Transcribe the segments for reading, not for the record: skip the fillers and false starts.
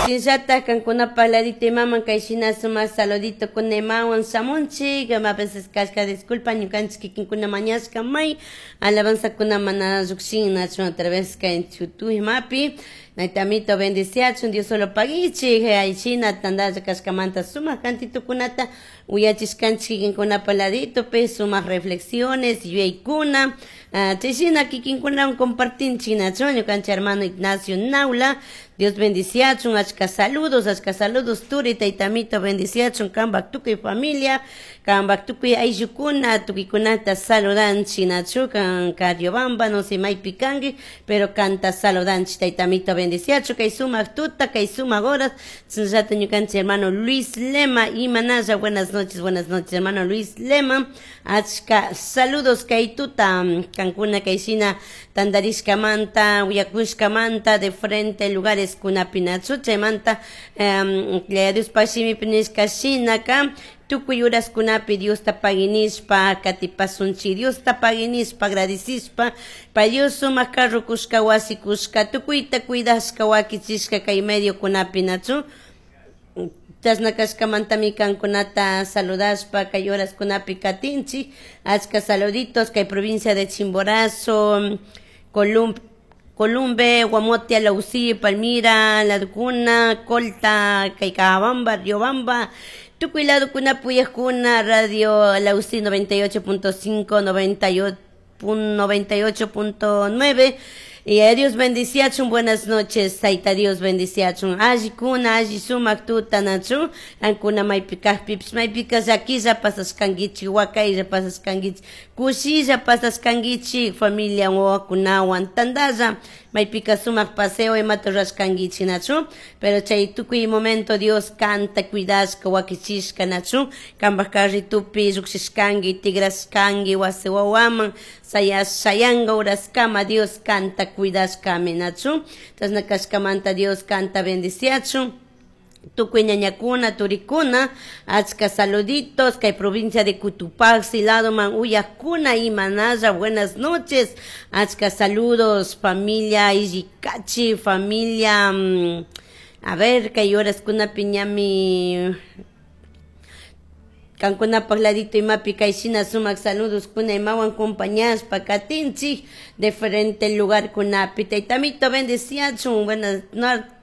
Shinllatak kankunapaj ladito imaman kay shina sumak saludito kuna imawan shamunchik, a veces kashka disculpa ñukanchik kikinkuna mañashka may alabanzakuna mana llukshin nachu a través kay YouTube imapi. Naytamito bendiciachun Dios solo paguichik shina tandalla kashkamanta sumak cantitukunata uyachishkanchik kikinkunapa laditopi sumak reflexiones yuyaykuna chay shina kikinkunawan compartinchik nachu ñukanchik hermano Ignacio Naula. Dios bendiciachun, achka saludos turi taytamito bendiciachun kanpak tukuy familia, kanpak tukuy ayllukuna, tukuykunata saludanchik nachu kan Cariobamba, no sé maypi kanki, pero kanta saludanchik taytamito bendiciachun kay sumak tuta, kay sumak horas, chayllata ñukanchik hermano Luis Lema imanalla, buenas noches hermano Luis Lema, achka saludos kay tuta kankuna kay shina tandarishkamanta, uyakushkamanta de frente lugares kunapi nachu chaymanta Diospaj shimipi nishka shinaka tukuy horaskunapi Diosta paginishpa katipasunchik, Diosta paginishpa agradecishpa pay Dios sumak carro kushka wasi kushka tukuyta cuidashka wakichishka kay medio kunapi nachu. Chashna kashkamantami kankunata saludashpa kay horaskunapi katinchik, achka saluditos kay provincia de Chimborazo, Columbe, Guamote, Alausí, Palmira, Ladukuna, Colta, Caicabamba, Riobamba, tukuy ladukuna puyajkuna, Radio Alausí 98.5, 98.9. Y a Dios bendiciachun, buenas noches, Saita Dios bendiciachun. Alli kuna, alli sumak tuta nachu, ankuna maypikaj pipis, maypika llakilla pasashkankichik, wakaylla pasashkankichik, kushilla pasashkankichik, familia wawakunawan, tandalla, maypika sumak paseo imata rurashkankichik nachu, pero chay tukuy momento Dios kanta, cuidashka, wakichishka nachu, kanpak carritupi llukshishkanki, tigrashkanki, wasi wawaman, sayanga horaskama Dios kanta cuidashkami nachu, chashna kashkamanta Dios kanta bendiciachun. Tukuy ñañakuna, turikuna, achka saluditos, kay provincia de Cotopaxi, ladoman uyakuna y manaya, buenas noches, achka saludos, familia Illicachi, familia, a ver, kay horas kuna piñami, kankunapaj ladito imapi kay shina sumak saludos kuna imawan compañashpa katinchik diferente lugar kunapi. Taytamito bendeciachun, buenas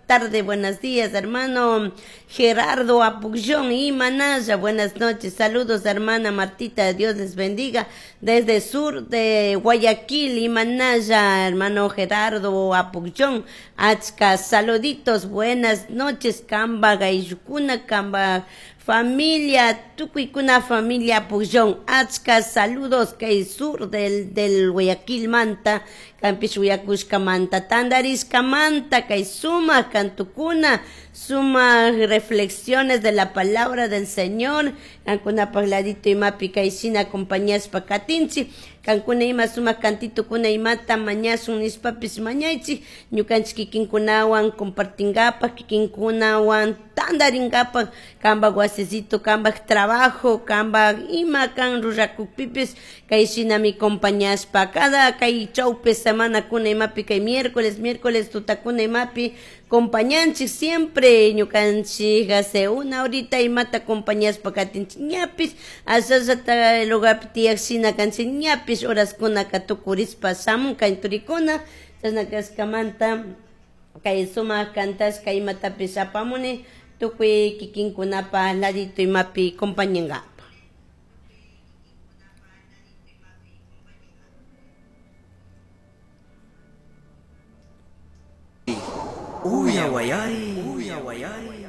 tarde, buenos días, hermano Gerardo Apucllón y Manaya, buenas noches, saludos, hermana Martita, Dios les bendiga, desde sur de Guayaquil y Manaya, hermano Gerardo Apucllón, achka, saluditos, buenas noches, Kamba, Gayukuna, Kamba, familia, tukuykuna familia Apucllón, achka, saludos, kay sur del Guayaquil manta, kampish uyakushka manta, tandarishka manta, kay suma kantukuna, suma reflexiones de la palabra del Señor, kankuna pagladito imapi kay shina acompañashpa katinchi, kankuna ima suma kantito kuna imata mañasun nishpapis mañaychi, ñukanchik kikinkunawan compartingapak, kikinkunawan tandaringapak, kanpak wasicito, kanpak trabajo, kanpak ima kan rurrakukpipis, kay shinami compañashpa, cada kay chawpi semana kuna imapi kay miércoles, miércoles tutakuna imapi, compañanchik siempre ñukanchik hace una horita imata compañashpa katinchik ñapis, ashallata lugarpi tiyak shina kanchik ñapis horas kunaka tukurispa shamun kay turikuna, chashna kashkamanta kay sumak kantashka imatapis apamuni tukuy kikinkunapa ladito imapi compañangapa. Uya wayari, uya wayari.